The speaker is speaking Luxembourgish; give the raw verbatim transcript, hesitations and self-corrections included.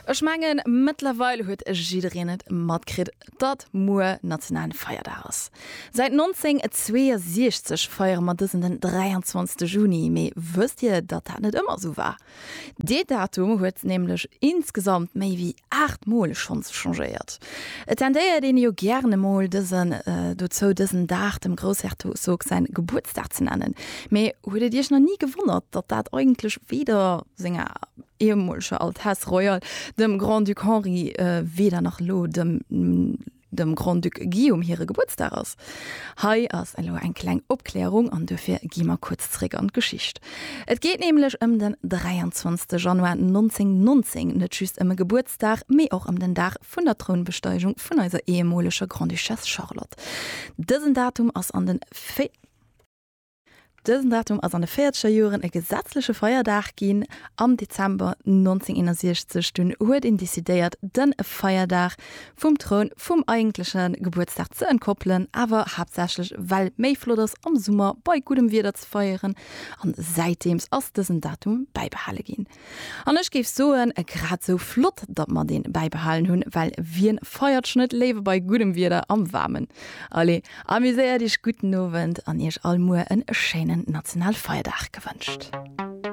Ech mengen, mëttlerweil huet jiddereen et matkritt, datt muer nationalen Feierdag ass. Säit nonzénghonnertzweeënsiechzeg feiere mer dësen den dräianzwanzegste Juni, mee wësst Dir, datt dat net ëmmer esou war? Dee Datum huet nämlech insgesamt méi wéi aacht Mol schonns changéiert. Et tendéiert een jo gären emol dësen dozou, dësen Dag dem Groussherzog säin Gebuertsdag ze nennen. Mee huet et Iech nach ni gewonnert, datt dat eigentlech weder senger ehemoleger Altesse Royale, dem Grand-Duc Henri, weder nach elo dem dem Grand-Duc Guillaume hire Gebuertsdag ass? Hei ass elo eng kleng Opklärung an duerfir gi mer kuerz zréck an d'Geschicht. Et geet nämlech ëm den dräianzwanzegste Januar nonzéngnonzéng, net just ëm e Gebuertsdag, mee och ëm den Dag vun der Trounbesteigung vun eiser ehemoleger Grande-Duchesse Charlotte. Dësen Datum ass an den. Dësen Datum ass an de véierzeger Joren e gesetzleche Feierdag ginn. Am Dezember nonzénghonnerteenasiechzeg dunn huet een decidéiert, de Feierdag vum Troun vum eigentleche Gebuertsdag ze entkoppelen, awer haaptsächlech well et méi flott ass am Summer bei guddem Wieder ze feieren. An säitdeems ass dësen Datum bäibehale ginn. An ech géif soen, grad sou flott, datt mer deen bäibehalen hunn, well wien feiert schonn net léiwer bei guddem Wieder am Waarmen? Allez, amuséiert iech, gudden Owend an iech all muer en schéinen Nationalfeierdag gewënscht.